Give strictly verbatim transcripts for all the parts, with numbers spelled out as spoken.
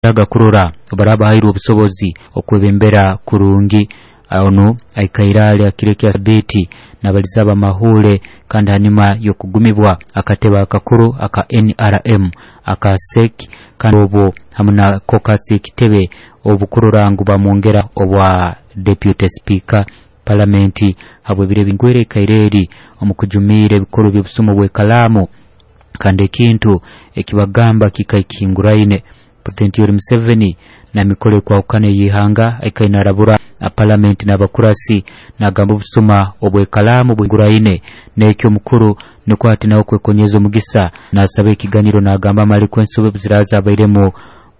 Kurora baraba hairwe obusobozi okwebembera kurungi. Ono aikaire ali akiro ekya sabiiti nabaliza abamahule, kandi hanyuma y'okugumibwa akatebe akakuru aka N R M aka S E C, kandi obwo hamu na kokasi ekitebe obukurora ngu bamwongera obwa Deputy Speaker Palamenti habw'ebiro ebingwire ikaire eri omu kujumiira ebikuru by'obusumu bw'ekalaamu, kandi ekintu ekibagamba kikaikinguraine. President Yoweri Museveni na mikoro ekwahukana ey'ihanga aikaire narabura Palamenti n'abakurasi nagamba obusuma obw'ekalaamu bwinguraine, n'ekyo omukuru nikwo ati nawe kwekonyeza omugisa nasaba ekiganiro nagamba amaliko ensobi ziraza abairemu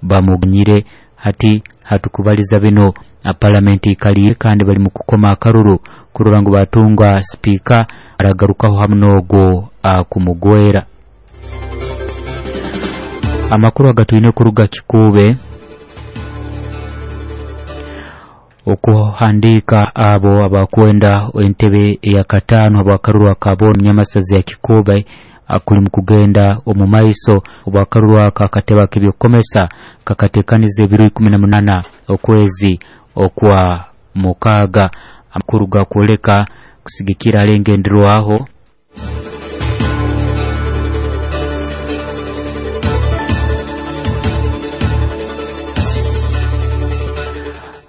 bamuganyire. Hati hatukubaliza bino Palamenti ikaliire kandi bali mu kukoma akaruru kurora ngu batunga sipiika aragarukaho hamu n'ogwo akumugwera. Amakuru agatwine kuruga Kikuube okuhandika abo abakwenda entebe eyakataano abakaruru akabo nyamasazi ya Kikuube akuli mukugenda omu maiso obwakaruru aka akatebe ak'ebyokukomesa kakatekaniza ebiro ikumi na munana okwezi okwa mukaaga. Amakuru gakwoleka kusigikira alengenderwaho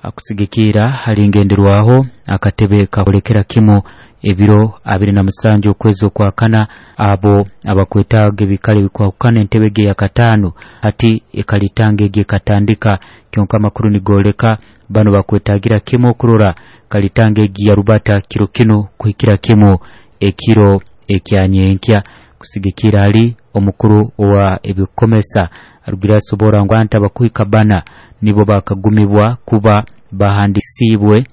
akusigikira halingenderwaho akatebe kakolekera kimu ebiro abiri na musanju okwezi okwakana abo abakwetaaga ebikale bikwahukana entebe ge yakataano hati ekalitanga egi ekatandika kyonka amakuru nigoleka bano bakwetagira kimu okurora kalitanga egi yarubata kiro kinu kuhikira kimu ekiro ekyanyenkya. Kusigikira hali omukuru wa ebikomesa arugira asobora ngu anta abakuhika bana nibo bakagumibwa kuba bahandisibwe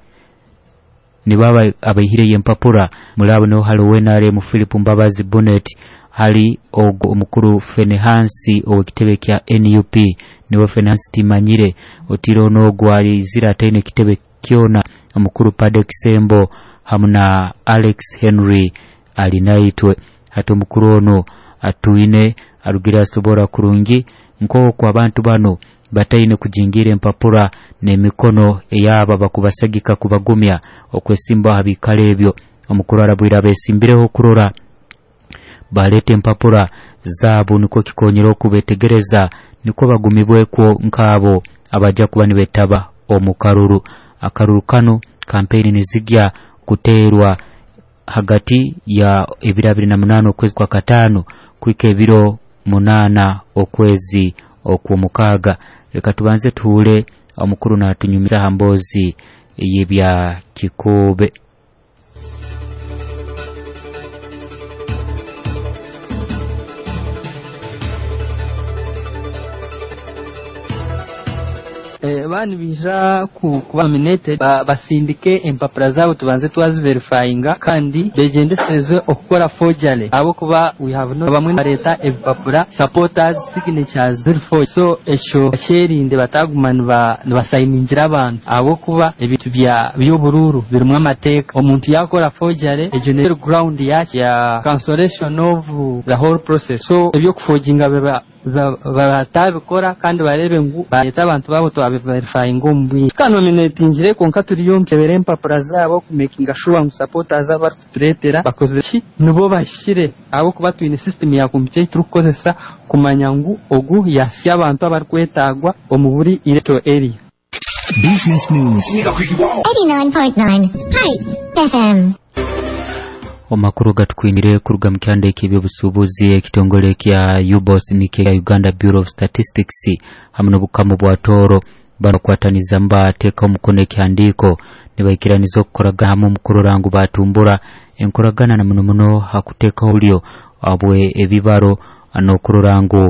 nibaba abaihire empapura mulabo no hali W N R M Philip Mbabazi Bonnet, hali ogo omukuru Fenehansi owekitebe kya N U P niwe Fenehansi Timanyire otiro n'ogwo alizira ataine kitebe kyona omukuru Padek Sembo hamu na Alex Henry Alinaitwe. Hati omukuru ono atuine arugira asobora kurungi nk'oku abantu bano bataine kujingira empapura n'emikono eyaba bakubasagika kubagumya okwesimba aha bikalo ebyo. Omukuru arabwira abesimbireho kurora baleta empapura zaabo nikwo kikonyera okubetegereza nikwo bagumibwekwo nk'abo abajja kuba nibetaba omu karuru. Akaruru kano kampeni nizigya kuteerwa hagati ya ebiro abiri na munaana okwezi kwa kataano kuhika ebiro munaana okwezi okw'omukaaga. Leka tubanze tuhure omukuru natunyumiza aha mboozi y'ebya Kikuube. Bani bija kuba nominated basindike empapura zabo tubanze twaziverifyinga kandi begendesereze okukora forgery abo kuba we have no bamwe bareta ebipapura supporters signatures ziri forged, so esho sherinde bataguma nibasayiningira abantu abo kuba ebintu bya by'obururu birimu amateeka. Omuntu yakora forgery ejo ne ground yake ya cancellation of the whole process, so ebyokuforginga biba batabikora kandi barebe ngu bareta abantu babo twabiverifyinga omu bwingi. Tukanominatingire konka turiyo nkebera empapura zabo kumakinga sure ngu supporters abarikutureetera bakoze ki nibo bahikire abo kuba twine system ya computer turikukozesa kumanya ngu ogu yasya abantu abarikwetagwa omu buri electoral area. Business News eighty-nine point nine Hi F M. Omakuru gatukwinire kuruga mu kyanda eky'ebyobusuubuzi ekitongole kya U B O S nikyo Uganda Bureau of Statistics hamwe n'obukamu bwa Tooro banakwataniza mbateeka omukono ekihandiiko nibaikiraniza okukoragana hamwe omu kurora ngu batumbura enkoragana na muno muno hakuteekaho obulyo obwe ebibaro n'okurora ngu